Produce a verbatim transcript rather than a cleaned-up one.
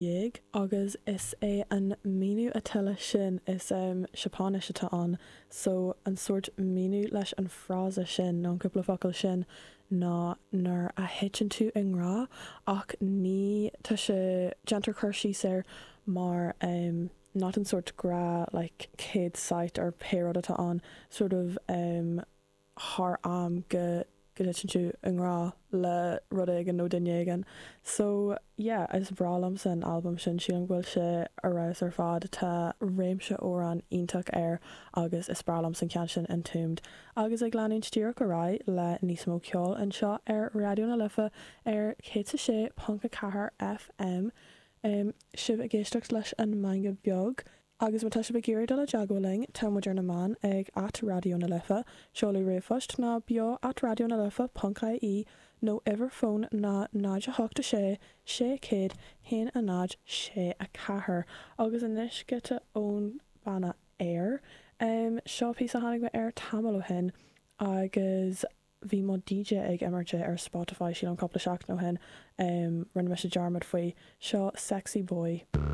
dhéag agus is é an míniú atá leis sin is um, Seapáinis atá ann so an sórt míniú leis an frása sin nó an cúpla focal sin ná nuair a thiteann tú i ngrá ach ní tá sé déantar cur síos air mar um, not an sórt grá like céad sight or pé rud atá ann sort of um, thar am go go dtiteann tú i ngrá le rud éigin nó duine éigin. So yeah, is breá liomsa an albam sin sílim go bhfuil sé ar fheabhas ar fad tá réimse amhrán iontach air agus is breá liomsa an ceann sin Entombed. Agus ag leanúint díreach ar aghaidh le níos mó ceoil anseo ar Raidió na Life ar céad a sé ponc a ceathair FM. Um, sibh ag éisteacht leis an Meangadh Beag. Agus má tá sibh ag iarraidh dul i dteagmháil linn tá muid ar na meáin ag at Raidió na Life, seoladh ríomhphost ná beo at Raidió na Life ponc ie nó uimhir fóin ná náid a hocht a sé sé céad haon a náid sé a ceathair agus anois giota ón banna Air. Um, seo píosa a tháinig mé air tamall ó shin agus bhí mo DJ ag imirt ar Spotify sílim cúpla seachtain ó shin um, rinne mise dearmad faoi seo Sexy Boy.